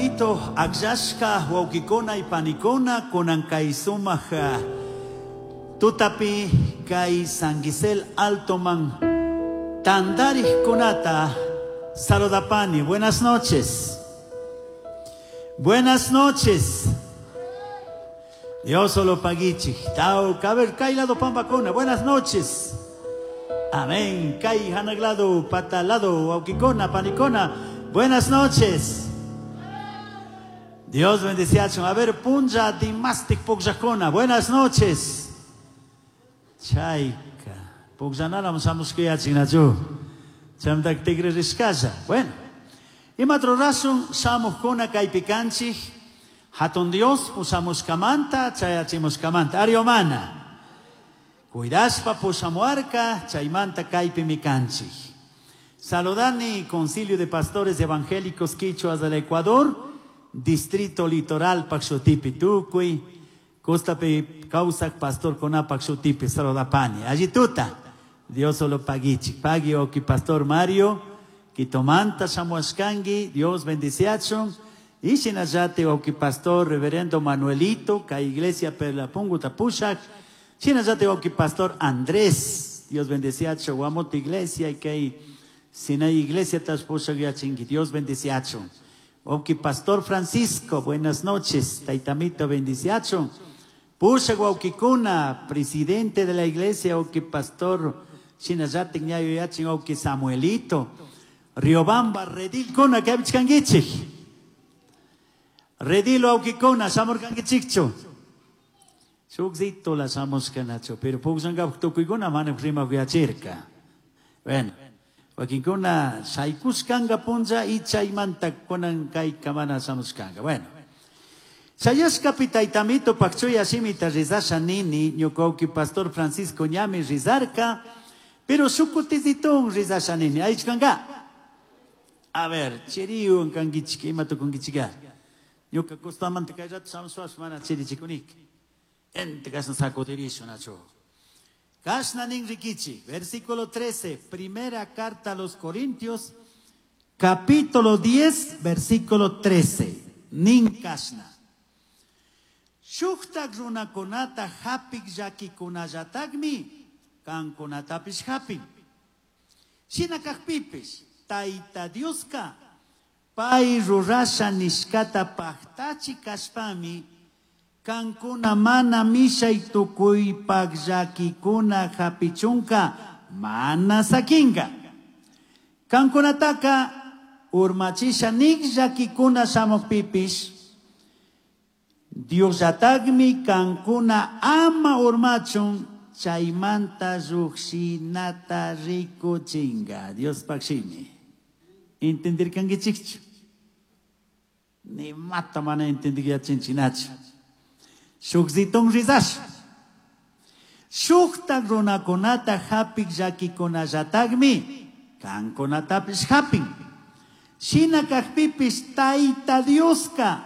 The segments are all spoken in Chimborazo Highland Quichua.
Taitamito akllashka wawkikuna y panikuna kunan kay sumaq tutapi kay San Gisel Altoman tantarikkunata saludapani. Buenas noches. Buenas noches. Dios solo paguichik. Tau, a ver, kay lado pampakuna. Buenas noches. Amén. Kay hanaglado, patalado, wawkikuna, panikuna. Buenas noches. Dios bendeciachun. A ver, punlla dimastik pukllakuna. Buenas noches. Chayka. Pukllanala shamushkayachinachu. Chamtak tigre rishkalla. Bueno. Ima rurasun shamukkuna kaypi kanchik. Hatun Dios pushamushkamanta, chayachimushkamanta. Ariomana. Cuidashpa pushamuarka, chaymanta kaypimi kanchik. Saludani Concilio de Pastores Evangélicos Quichuas del Ecuador, Distrito Litoral Pakshutipi Tukuy, Costapi Kawsak Pastor Kona Pakshutipi, saludapani. Allí tuta, Dios solo pagichik. Pagui oki Pastor Mario, Quitomanta shamuashkangi, Dios bendiciachun. Y shinallate oki Pastor Reverendo Manuelito, ka Iglesia Perlapungu tapushak. Shinallate oki Pastor Andrés, Dios bendiciacho, Guamot Iglesia y que Sinai Iglesia taspushak yachingi, Dios bendiciacho. Oki Pastor Francisco, buenas noches, Taitamito bendiciacho. Pusha Guauquicuna, presidente de la iglesia, Oki Pastor Shinallate ñayo yachin, Oki Samuelito. Riobamba, Redil Kuna, que abichkangichik. Redilo Auquicuna, shamurkangichikchu. Shukzito la shamushkanachu, pero puksangapuk tukuykuna mana rima kuyachirka. Bueno, wakinkuna shaykushkanga punlla y chaymanta kunan kayka mana shamushkanga. Bueno. Chayashkapi taytamito pakchuya shimita rizasha nini, ñuka uki pastor Francisco ñami rizarka, pero shukutizitun rizasha nini. Aychkanga. A ver, chiriwan kankichik, ima tukunkichika. Ñuka kustamanta kay rato shamushpash mana chirichikunik. Ente kashna sacudirishu nachu. Kashna nin rikichi, versículo 13, primera carta a los Corintios, capítulo 10, versículo 13. Nin kashna. Shuktak runakunata hapik llakikunallataqmi, kankunatapish hapin. Shina kakpipish, Tayta Dioska, pay rurasha nishkata paktachi kashpami, kankuna mana mishay tukuypak llakikuna hapichunka mana sakinka. Kankunataka urmachisha nik llakikuna shamukpipish, Diosllatakmi kankuna ama urmachun chaymanta llukshinata rikuchinga. Diospak shimi. Entendirkankichikchu? Ni mata mana entendikyachinchinachu. Shukzitun rizash. Shuktak runakunata hapik llakikunallataqmi kankunatapish hapin. Shina kakpipish Tayta Dioska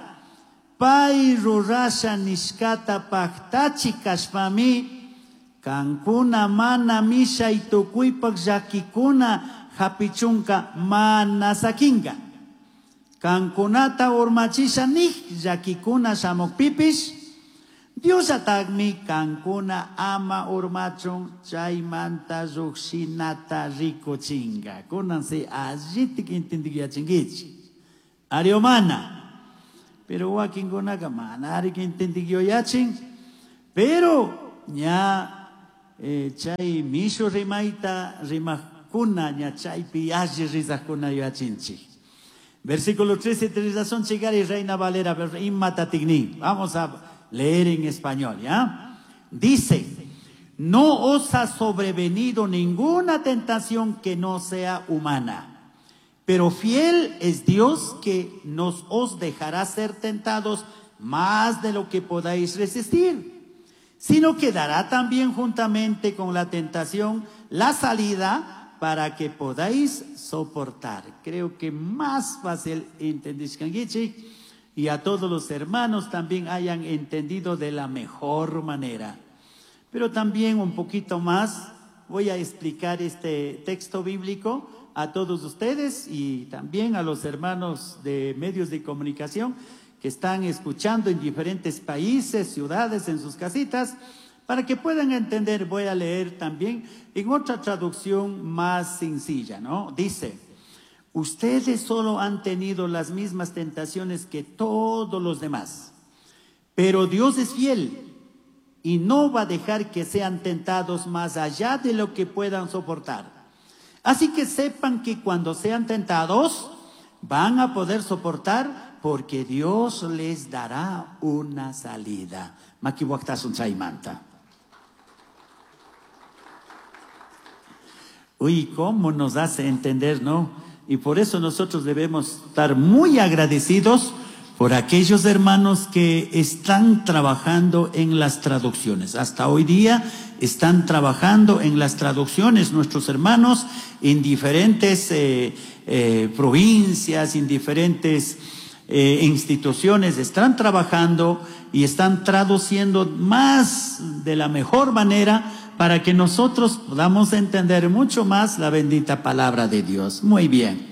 pay rurasha nishkata paktachi kashpami kankuna mana mishay tukuypak llakikuna hapichunka mana sakinka. Kankunata urmachisha nik llakikuna shamukpipish Diosllatakmi kankuna ama urmachun chaymanta llukshinata rikuchinka. Kunan si allitik entendiyachinkichik. Ariomana. Pero wakinkunaka mana ari entendiyachin. Pero ña chay mishu rimayta rimakuna ña chaypi alli rizakuna yachinchik. Versículo 13, rizasun chigari Reina Valera, imatatigni. Vamos a leer en español, ¿ya? Dice, no os ha sobrevenido ninguna tentación que no sea humana, pero fiel es Dios que nos os dejará ser tentados más de lo que podáis resistir, sino que dará también juntamente con la tentación la salida para que podáis soportar. Creo que más fácil entendís, Kangichi, y a todos los hermanos también hayan entendido de la mejor manera. Pero también un poquito más Voy a explicar este texto bíblico a todos ustedes y también a los hermanos de medios de comunicación que están escuchando en diferentes países, ciudades, en sus casitas, para que puedan entender. Voy a leer también en otra traducción más sencilla, ¿no? Dice: ustedes solo han tenido las mismas tentaciones que todos los demás, pero Dios es fiel y no va a dejar que sean tentados más allá de lo que puedan soportar. Así que sepan que cuando sean tentados, van a poder soportar, porque Dios les dará una salida. Makiwaktasun chaymanta. Uy, cómo nos hace entender, ¿no? Y por eso nosotros debemos estar muy agradecidos por aquellos hermanos que están trabajando en las traducciones. Hasta hoy día están trabajando en las traducciones nuestros hermanos en diferentes provincias, en diferentes instituciones. Están trabajando y están traduciendo más de la mejor manera para que nosotros podamos entender mucho más la bendita palabra de Dios. Muy bien,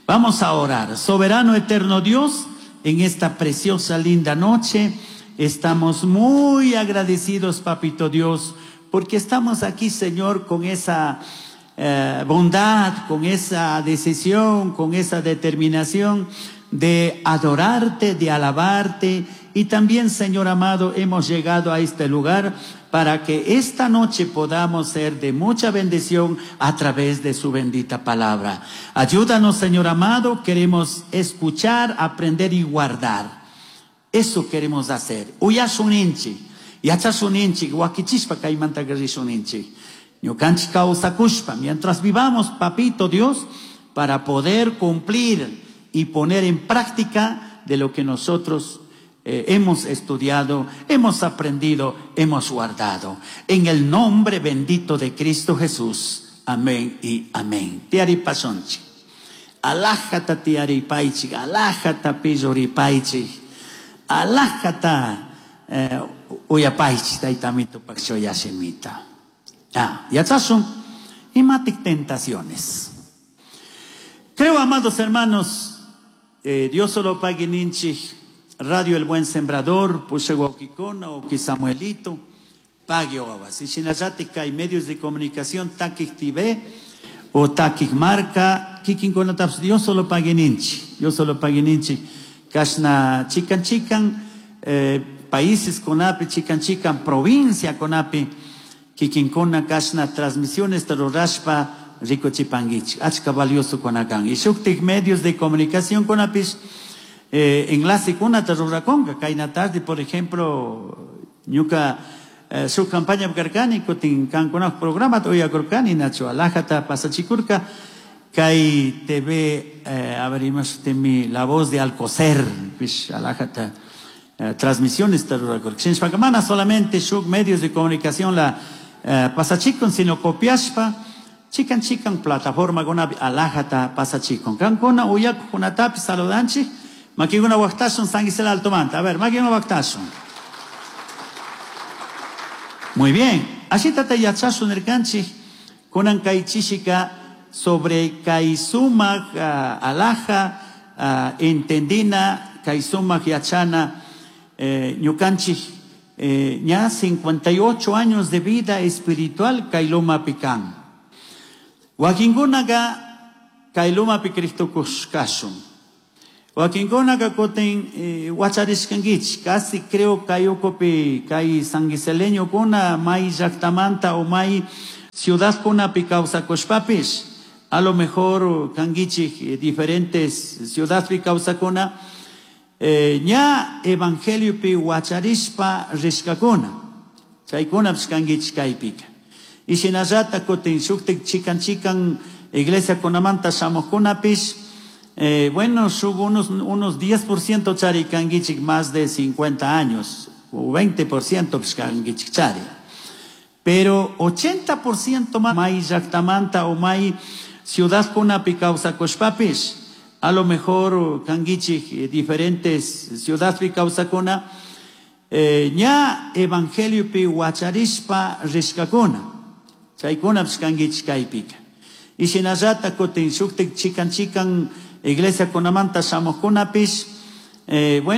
vamos a orar. Soberano eterno Dios, en esta preciosa, linda noche, estamos muy agradecidos, Papito Dios, porque estamos aquí, Señor, con esa bondad, con esa decisión, con esa determinación de adorarte, de alabarte. Y también, Señor amado, hemos llegado a este lugar para que esta noche podamos ser de mucha bendición a través de su bendita palabra. Ayúdanos, Señor amado, queremos escuchar, aprender y guardar. Eso queremos hacer. Uyasuninchi, yachasuninchi, wakichishpa kaymanta garrisuninchi. Ñukanchik kawsakushpa, mientras vivamos, Papito Dios, para poder cumplir y poner en práctica de lo que nosotros hemos estudiado, hemos aprendido, hemos guardado. En el nombre bendito de Cristo Jesús. Amén y amén. Tiari pasonchi. Alájata tiari paichi, alájata pillori paichi, alájata uyapaichi, taitamito pakchoyashimita. Ah, yachasun, imatic tentaciones. Creo, amados hermanos, Dios solo pague ninchi. Radio El Buen Sembrador, Pusheguaquicona, o Samuelito, pague oabas. Y Shinayatica y medios de comunicación, Taquij TV o Taquij Marca, Kikinkonataps, Dios solo pague ninchi, Dios solo pague ninchi. Kashna chican chican, países conapi, chican chican, provincia conapi, Kikinkona, Kashna, transmisiones, Tarorashpa, Rico Chipanguich, Achka valioso conacan. Y Shuktik medios de comunicación conapis, enlace con una taruraconga, kaina tarde, por ejemplo, ñuka su campaña karkani, kutin kankuna programa toya kurkani, nacho alajata pasachikurka, kai TV, abrimos temi la voz de Alcocer, pish alajata transmisiones tarurakurka. Shinshpakamana solamente shuk medios de comunicación la pasachikon, sino copiashpa, chican chican plataforma gona alajata pasachikon. Kankuna uyak kunatapi saludanchi. Makiguna waktasun sanguisela altomanta. A ver, makiguna waktasun. Muy bien. Así tata yachasun erkanchi kunan kaichishika sobre kaisumak alaja entendina kaisumak yachana ñukanchi ña 58 años de vida espiritual kailuma pikan. Wakingunaga kailuma picristo kushkashun. Wakinkunaqa kutin wacharishkankichik, casi creo kay kay sanguiseleñokuna may llaqtamanta o may ciudadkunapi kawsakushpapis, a lo mejor kankichik diferentes ciudadpi kawsakuna, ña evangeliopi wacharishpa rishkakuna, chaykunapish kankichik kaypika. Y shinallata kutin shuktik chikan chikan iglesia kunamanta shamuqkunapis, bueno, subo unos 10% chari kangichik más de 50 años, o 20% kangichik chari. Pero 80% más may llaqtamanta o may ciudad kunapi kawsakushpapis, a lo mejor kangichik diferentes ciudadpi kawsakuna, ña evangeliopi wacharishpa rishkakuna. Chaykunapish kankichik kaypika. Y shinallata kutin shuktik chikan chikan iglesiakunamanta shamuqkunapish, eh, bueno.